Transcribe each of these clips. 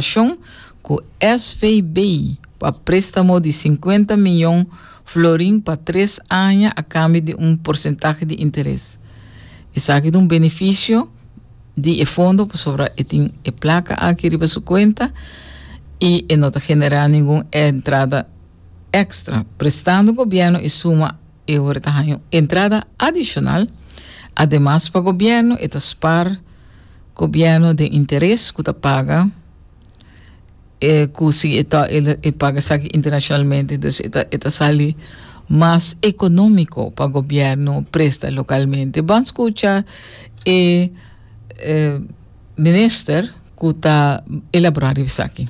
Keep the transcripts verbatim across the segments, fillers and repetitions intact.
Kolaborashon ku S V B pa préstamo di sinkuenta mion florin pa tres aña a kambio di un porsentahe di interes. Esaki ta un benefisio di e fondo pasobra e tin e plaka aki riba su kuenta i e no ta generá ningun entrada èkstra. Prestando gobièrnu e suma e ora ta entrada adishonal. Ademas, pa gobièrnu e ta spar gobièrnu di interes ku ta paga e ku si e ta e paga esaki internashonalmente, dus e ta e ta sali mas ekonómiko pa gobièrnu presta lokalmente. Ban skucha e, e minister ku ta elaborá esaki.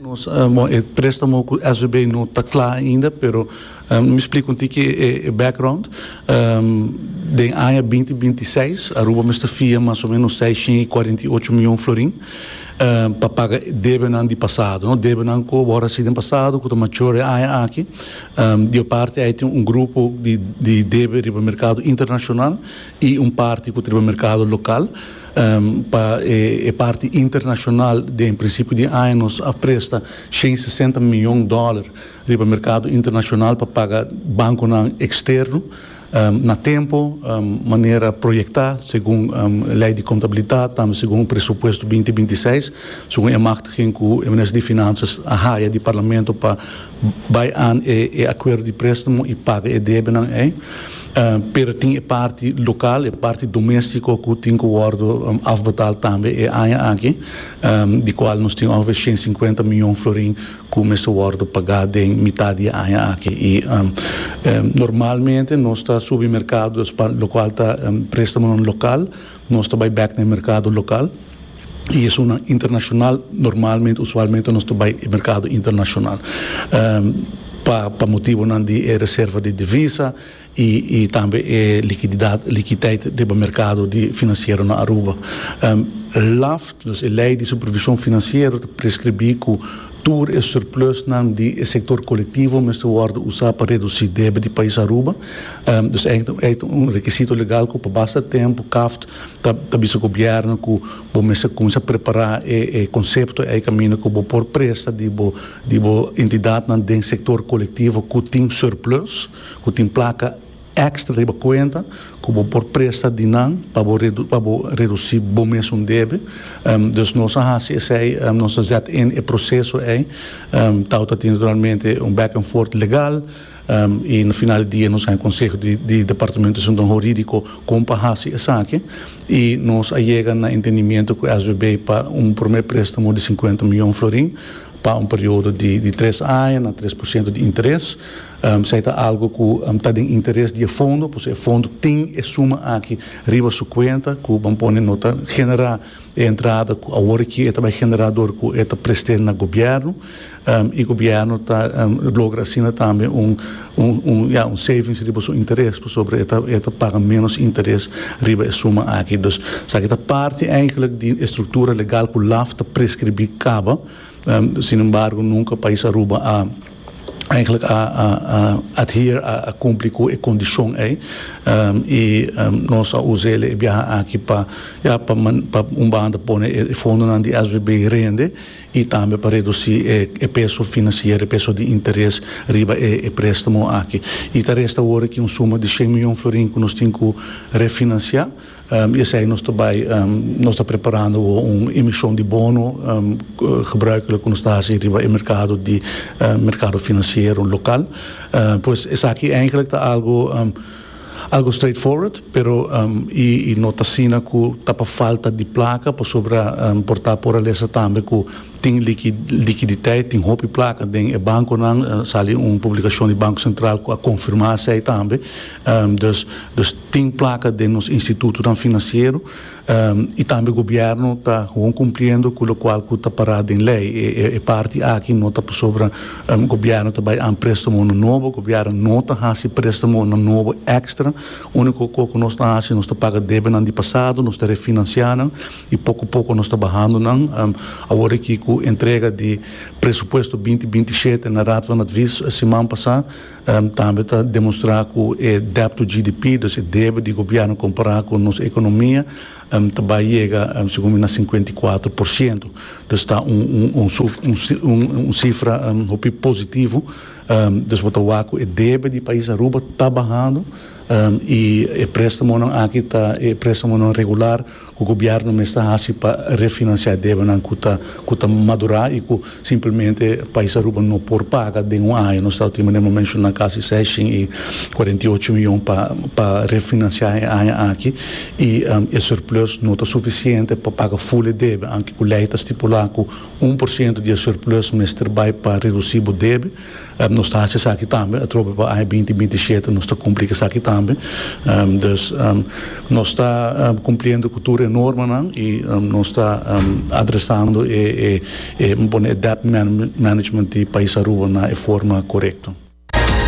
Nos, um, e préstamo ku S V B no ta kla ainda, pero um, mi splika un tiki e, e background. Um, den aña binti bintiseis, Aruba mester fia mas o ménos seisshen i kuarentiocho mion florin um, pa paga debenan di pasado, no? Debenan ku awor den pasado, ku ta mature aña aki. Um, di parti ei tin un grupo di, di debe riba merkado internashonal i un parti ku riba merkado lokal. Um, pa e, e parti internashonal, den prinsipio di aña nos a presta shen sesenta mion dòler riba merkado internashonal pa paga bankonan eksterno um, na tempu, um, manera proyektá, segun um, lei di kontabilidat, tambe segun presupuesto binti bintiseis, segun e machtiging ku e minister di Finansa a haya di parlamento pa bai aan e, e akuerdo di préstamo i paga e debenan ei. Uh, pero tin e parti lokal, e parti doméstiko ku tin ku wòrdu um, afbetaald tambe e aña aki, um, di kual nos tin ongeveer shen sinkuenta mion florin ku mester wòrdu pagá den mitar di aña aki. I um, um, normalmente nos ta subi merkado, lokual ta um, préstamo lokal, nos ta bai bèk na merkado lokal. I esun internashonal, normalmente, usualmente, nos ta bai merkado internashonal. Um, pa, pa motibonan di reserva di divisa i, i tambe e likididat, likididat di merkado di finansiero na Aruba. Um, LAFT, dus e lei di supervishon finansiero, ta preskribí ku tur e surplusnan di sektor kolektivo mester wòrdu usá pa redusí debe di pais Aruba. Um, dus eigenlijk ta un rekisito legal ku pa basta tempu CAFT ta ta bisa gobièrnu ku bo mester kuminsá prepará e, e konsepto e kaminda ku bo por presta di bo di bo entidatnan den sektor kolektivo ku tin surplus, ku tin plaka èkstra riba kuenta, ku bo por presta di nan pa bo redu, pa bo redusí bo mes un debe. Um, dus nos a hasi esei, um, nos a zet in e proseso ei. Um, tabata tin naturalmente un back and forth legal. Um, i na final di dia nos tin konseho di, di departamento hurídiko kon pa hasi esaki i nos a yega na entendimentu ku S V B pa un promé préstamo di sinkuenta mion florin pa un periodo di, di tres aña na tres porshento di interes. Um, esei ta algu ku um, ta di interes di fondo, pasobra e fondo tin e suma aki riba su kuenta, ku ban pone no ta generá e entrada ku awor aki ta bai generá dor ku e ta prestando na gobièrnu, um, i gobièrnu ta um, logra asina tambe un un un ja, un savings riba su interes, pasobra e ta e ta paga menos interes riba e suma aki. Dus esaki ta parti eigenlijk di struktura legal ku LAFT ta preskribí kaba. Um, sin embargo, nunka pais Aruba a eigenlijk a, a, a adhere a, a kumpli ku e kondishon ei. Um, i um, nos a usa e biaha aki pa, ja, pa, pa un banda pone e fondonan di S V B rende i tambe pa redusí e, e peso finansiero, e peso di interes riba e, e préstamo aki. I ta resta awor aki un suma di shen mion florin ku nos tin ku refinansiá. Um, i esei nos tambe, um, nos ta preparando un emishon di bono um, gebruikelijk ku nos ta riba e merkado di uh, merkado finansiero lokal. Uh, pues esaki eigenlijk ta algu um, algu straightforward, pero um, i, i no ta asina ku ta pa falta di plaka, pasobra um, por ta por lesa tambe ku tin likididat, tin hopi plaka den e bankonan, uh, sali un publikashon di Banko Sentral ku a konfirmá esei tambe. Um, dus, dus tin plaka den nos institutonan finansiero um, i tambe gobièrnu ta gewoon kumpliendo ku lokual ku ta pará den lei. E, e, e parti aki no ta pasobra um, gobièrnu ta bai aan préstamo nobo, gobièrnu no ta hasi préstamo nobo èkstra. Úniko ku nos ta hasi, nos ta paga debenan di pasado, nos ta refinansiando i poko poko nos ta bahando nan. Um, awor aki ku Ku entrega di presupuesto binti binti i shete na Raad van Advies siman pasa, um, tambe ta demostra ku e debt to G D P, dus e debe di gobièrnu kompará ku nos ekonomia, um, tambe yega, um, segun na sinkuenta i kuater porshento. Dus ta un, un, un, un, un, un sifra um, hopi positivo. Um, dus bo ta wak ku e debe di pais Aruba ta bahando um, i e préstamo aki ta e préstamo regular ku gobièrnu mester hasi pa refinansiá debe nan ku ta ku ta madurá i ku simplemente pais Aruba no por paga den un aña. Nos ta últimamente menshoná kasi seisshen i kuarenta i ocho mion pa pa refinansiá e aña aki i um, e surplus no ta sufisiente pa paga full debe, aunke ku lei ta stipulá ku un porshento di surplus mester bai pa redusí e debe. um, nos ta hasi esaki tambe atrobe pa aña binti binti i shete, nos ta kumpli ku esaki tambe. um, dus um, nos ta um, kumpliendo ku tur norma i um, nos ta um, adresando e, e, e, e debt management di pais Aruba na forma korekto.